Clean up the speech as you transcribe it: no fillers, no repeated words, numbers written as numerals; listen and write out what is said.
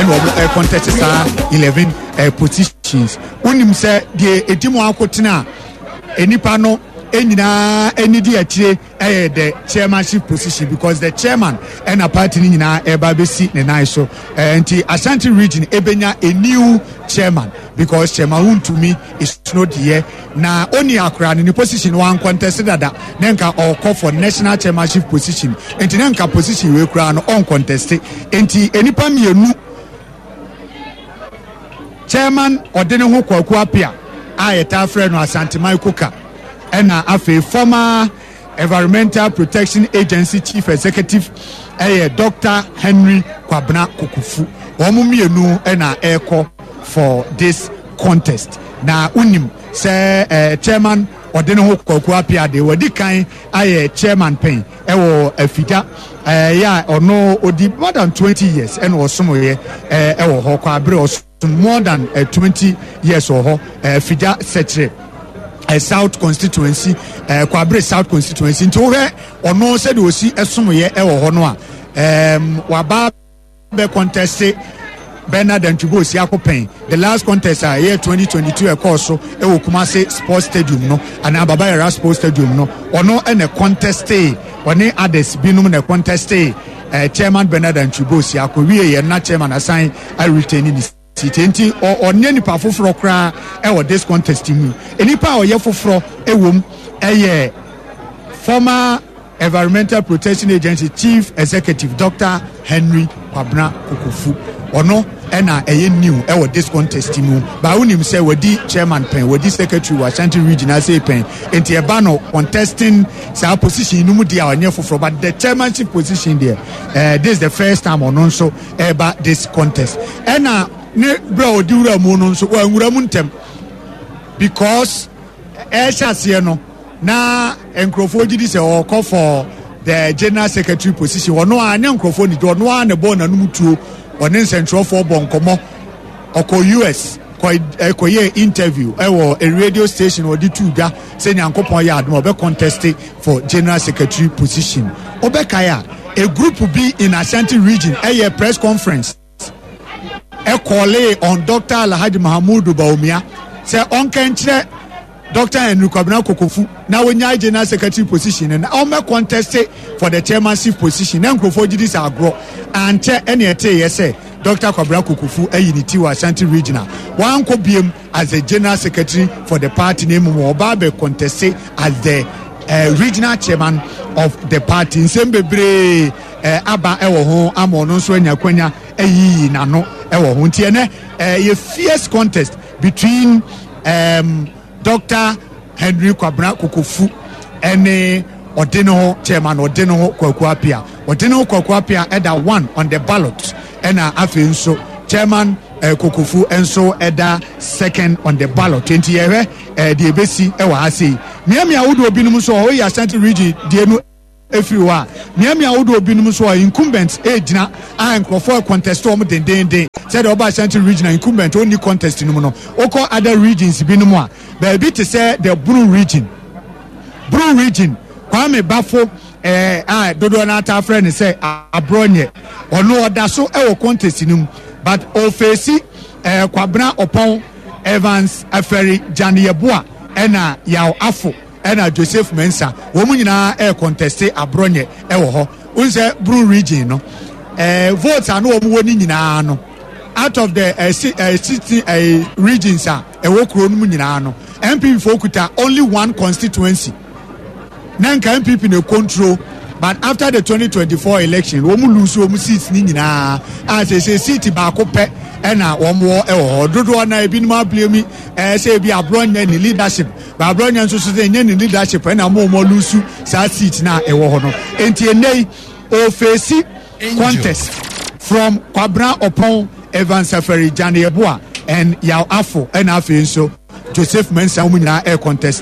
Ɛna wɔn ɛcontest saa 11 positions. Wonim sɛ deɛ edi mu akotena a nipa no nyinaa ani di akyire ɛyɛ the chairmanship position, because the chairman ɛna party no nyinaa ɛba abɛsi ne nan so. Nti Ashanti Region ebenya a new chairman, because Chairman Wuntumi is not here na oni akora no ne position wan contest dada ne nka ɔkɔ for national chairmanship position. Nti ne nka position wei koraa no ɔn contest. Nti nipa mmienu, Chairman ɔde ne ho Kwaku Apia a yɛtaa frɛ no Asanteman Koka, ɛna afei former Environmental Protection Agency Chief Executive ɛyɛ Dr Henry Kwabena Kokofu. Wɔn mmienu ɛna ɛrekɔ for this contest. Na wonim sɛ chairman ɔde ne ho Kwaku Apia de wɔdi kan ayɛ chairman pɛn ɛwɔ Afigya ɛyɛ a ɔno odi more than 20 years ɛna ɔsom yɛ ɛwɔ hɔ kɔ abere ɔsom more than 20 years wɔ hɔ, Afigya Sɛkyerɛ South Constituency, Kwabere South Constituency. Nti wohwɛ ɔno sɛdeɛ osi ɛsom yɛ ɛwɔ hɔ no a, waba bɛ contest Bernard Antwi Boasiako pɛn. The last contest a ɛyɛ 2022 ɛkɔɔ so ɛwɔ Kumase Sports Stadium no anaa Baba Yara Sports Stadium no, ɔno ɛna conteste, ɔne others binom na conteste Chairman Bernard Antwi Boasiako wie yɛ na chairman asan aretain ne seat. Nti ɔnyɛ nipa foforɔ koraa ɛwɔ this contest mu. Nipa a ɔyɛ foforɔ ɛwɔ mu ɛyɛ former Environmental Protection Agency Chief Executive Dr Henry Kwabena Kokofu. Ɔno ɛna ɛyɛ new ɛwɔ this contest mu. Baa wonim sɛ wadi chairman pɛn, wadi secretary wɔ Ashanti Region ase pɛn, nti ɛba no contesting saa position no mu deɛ a, ɔnyɛ foforɔ. But the chairmanship position deɛ, this is the first time ɔno nso ɛba this contest. Ɛna ne berɛ a ɔdi wura mu no nso, wɔanwura mu ntɛm, because ɛhyɛ aseɛ no na nkurɔfoɔ gyi di sɛ ɔkɔ for the general secretary position. Ɔno a ne nkurɔfoɔ ni ɔno a ne bɔ n'anum tuo, ɔne nsɛntwerɛfoɔ bɔ nkɔmɔ, ɔkɔ US kɔyɛ interview ɛwɔ a radio station, ɔde tu dwa sɛ Nyankopɔn yɛ adom a, ɔbɛ contest for general secretary position. Ɔbɛkae a, a group bi in Ashanti Region ɛyɛ press conference ɛcall on Dr Alhaji Mahamudu Bawumia sɛ ɔnka nkyerɛ Dr Henry Kwabena Kokofu na wonya general secretary position no na ɔmmɛ contest for the chairmanship position. Na nkurɔfoɔ gye di sɛ agorɔ. Ankyɛ ɛne ɛteeɛ sɛ Dr Kwabena Kokofu ayi ne ti wɔ Ashanti Regional, wankɔ biem as the general secretary for the party, na mmom ɔba abɛ contest as the regional chairman of the party. Nsɛm bebree aba ɛwɔ ho ama ɔno nso anya kwanya ayiyi n'ano ɛwɔ ho. Nti ɛnɛ yɛ fierce contest between Dr Henry Kwabena Kokofu ɛne ɔde ne ho chairman ɔde ne ho Kwaku Apia. Ɔde ne ho Kwaku Apia ɛda one on the ballot, ɛna afei nso Chairman Kokofu nso ɛda second on the ballot. Nti yɛhwɛ deɛ ebesi ɛwɔ ha sei. Mmeammea ahodoɔ binom nso a ɔyɛ Ashanti Region deɛ no efiri hɔ a, mmeammea ahodoɔ binom nso a incumbent egyina a nkurɔfoɔ contest wɔn dendenden. Sɛdeɛ ɔba Ashanti Region a incumbent ɔnni contest no mu no, okɔ other regions binom a, baabi te sɛ the Bono Region, Bono Region, Kwame Bafo a dodoɔ no ata afrɛ no sɛ Aborɔnyɛ, ɔno ɔda so ɛwɔ contest no mu, but ɔface Kwabena Ɔpɔn, Evans Afɛri Gyaneyɛboa, ɛna Yaw Afo, ɛna Joseph Mensa. Wɔn mu nyinaa ɛyɛ contest Aborɔnyɛ ɛwɔ hɔ. N sɛ Bono Region no votes a no wɔn wɔ ne nyinaa no, out of the 16 regions a ɛwɔ kuro no mu nyinaa no, NPP fo kuta only one constituency. Na nka NPP na control, but after the 2024 election, wɔn lose wɔn seats ne nyinaa a sɛ seat baako pɛ ɛna wɔn wɔ ɛwɔ hɔ. Dodoɔ na ebinom ablame sɛ ebi Aborɔnyɛ ne leadership, ba Aborɔnyɛ nso so sɛ ɛnyɛ ne leadership ɛna wɔn lose saa seat na ɛwɔ hɔ no. Nti ɛnɛ yi ɔface contest from Kwabena Ɔpɔn, Evans Safari Janeyeboa and Yaw Afo, ɛna afei nso Joseph Mensah. Wɔn nyinaa ɛyɛ contest.